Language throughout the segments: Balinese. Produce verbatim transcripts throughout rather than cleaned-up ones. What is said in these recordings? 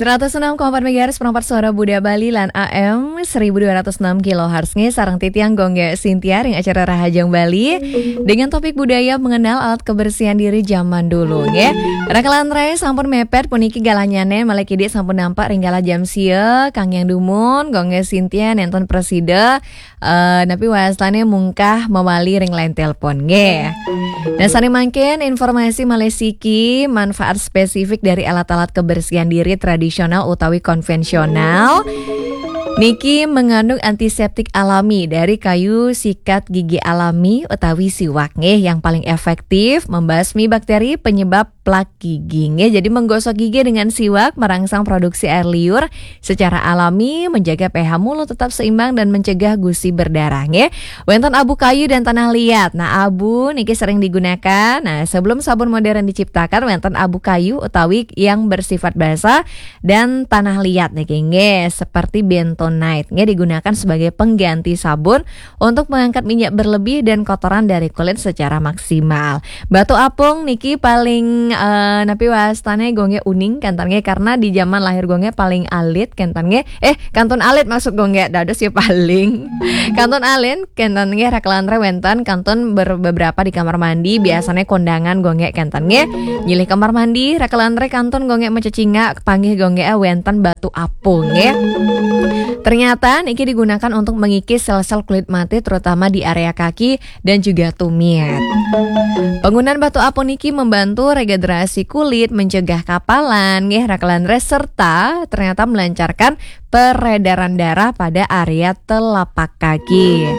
Seratus enam koma empat megahertz, perempat suara Buda Bali lan A M seribu dua ratus enam kilohertz nge, sareng titiang Gongge Sintia ring acara Rahajeng Bali dengan topik budaya mengenal alat kebersihan diri zaman dulu nge. Rakalan rai sampun mepet puniki galahnyane malih kidik sampun nampak ring galah jam sia, kang yang dumun, Gongge Sintia nenten presida, eh, napi wastane mungkah mawali ring line telepon nge. Nah, sane mangkin informasi malih siki manfaat spesifik dari alat-alat kebersihan diri tradisional utawi konvensional. Niki mengandung antiseptik alami dari kayu sikat gigi alami utawi siwak nggih yang paling efektif membasmi bakteri penyebab plak gigi nggih. Jadi menggosok gigi dengan siwak merangsang produksi air liur secara alami, menjaga pH mulut tetap seimbang dan mencegah gusi berdarah nggih. Wenten abu kayu dan tanah liat. Nah, abu niki sering digunakan. Nah, sebelum sabun modern diciptakan, wenten abu kayu utawi yang bersifat basah dan tanah liat niki nggih, seperti bentonite nggih, digunakan sebagai pengganti sabun untuk mengangkat minyak berlebih dan kotoran dari kulit secara maksimal. Batu apung niki paling, eh, napi wastane Gongge uning kenten nggih, karena di zaman lahir Gongge paling alit kenten nggih. Eh, kantun alit maksud Gongge, dados ya paling. Kantun alit kenten nggih, rakalan rai wenten kantun ber-, beberapa di kamar mandi, biasanya kondangan Gongge kenten nggih. Nyilih kamar mandi, rakalan rai kantun Gongge macecingak, panggih Gongge, eh, wenten batu apung nggih. Ternyata niki digunakan untuk mengikis sel-sel kulit mati, terutama di area kaki dan juga tumit. Penggunaan batu apung niki membantu regenerasi kulit, mencegah kapalan nggih, rakalan rai, serta ternyata melancarkan peredaran darah pada area telapak kaki.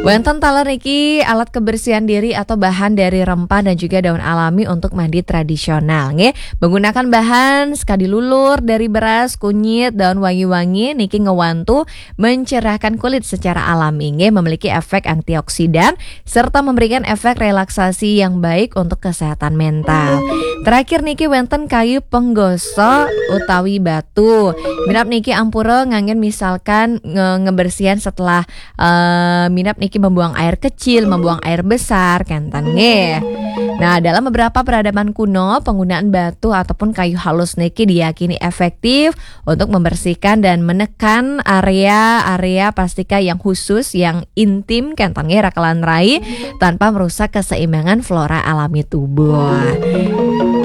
Wenten taler niki alat kebersihan diri atau bahan dari rempah dan juga daun alami untuk mandi tradisional nggih. Menggunakan bahan sekadi lulur dari beras, kunyit, daun wangi-wangi niki ngewantu mencerahkan kulit secara alami nggih, memiliki efek antioksidan serta memberikan efek relaksasi yang baik untuk kesehatan mental. Terakhir niki wenten kayu penggosok utawi batu. Minab niki ampura nganggen misalkan nge-, ngebersihan setelah, eh, minab niki membuang air kecil, membuang air besar, kenten nggih. Nah, dalam beberapa peradaban kuno, penggunaan batu ataupun kayu halus niki diyakini efektif untuk membersihkan dan menekan area-area plastika yang khusus, yang intim, kenten nggih, rakalan rai, tanpa merusak keseimbangan flora alami tubuh.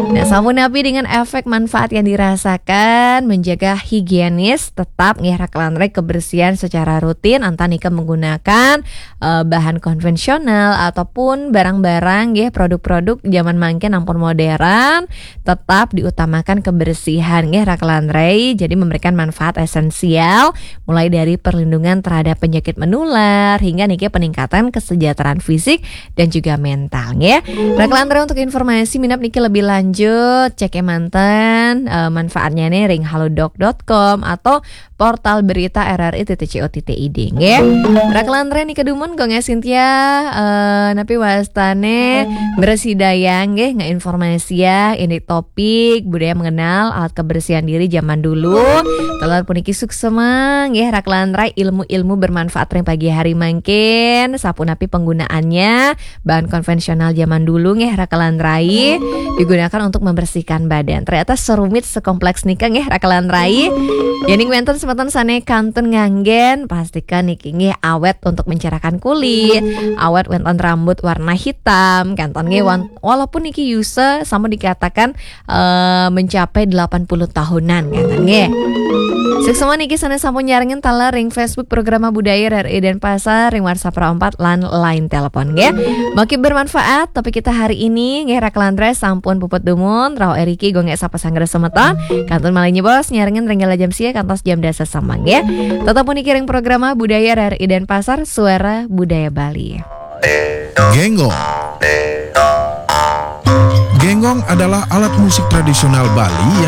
Nah, sampun napi dengan efek manfaat yang dirasakan, menjaga higienis, tetap nggih, rakalan rai, kebersihan secara rutin, enten nika menggunakan, eh, bahan konvensional ataupun barang-barang nggih, produk-produk zaman mangkin ampun modern, tetap diutamakan kebersihan nggih, rakalan rai. Jadi memberikan manfaat esensial mulai dari perlindungan terhadap penyakit menular hingga niki peningkatan kesejahteraan fisik dan juga mental nggih. Rakalan rai, untuk informasi minab niki lebih lanjut, cek manten, eh, manfaatnya nih ring halodoc dot com atau portal berita R R I titik co titik I D nggih. Rakalan rai, niki dumun Gongge Sintia, eh, napi wastane mresidayang nggih, ngeinformasiang indik topik budaya mengenal alat kebersihan diri zaman dulu. Taler puniki suksema nggih, rakalan rai, ilmu-ilmu bermanfaat ring pagi hari mangkin, sapunapi penggunaannya, bahan konvensional zaman dulu nggih, rakalan rai, digunakan untuk membersihkan badan. Ternyata serumit sekompleks nika nggih, rakalan rai. Yening wenten semeton sane kantun nganggen, pastikan niki nggih awet untuk mencerahkan kulit, awet wenten rambut warna hitam, kenten nggih, wan-, walaupun niki yusa sampun dikatakan, eh, mencapai delapan puluh tahunan, kenten nggih. Suksema niki sane sampun nyarengin taler ring Facebook Programa Budaya R R I Denpasar, ring WhatsApp Pro empat lan line telepon nggih. Mungkin bermanfaat topik kita hari ini nggih, rakalan rai, sampun puput dumun, rauh iriki Gongge sapa sanggra semeton. Kantun malih nyebos nyarengin ring galah jam sia kantos jam dasa semeng nggih. Tetep puniki ring Programa Budaya R R I Denpasar, Suara Budaya Bali. Genggong. Genggong adalah alat musik tradisional Bali yang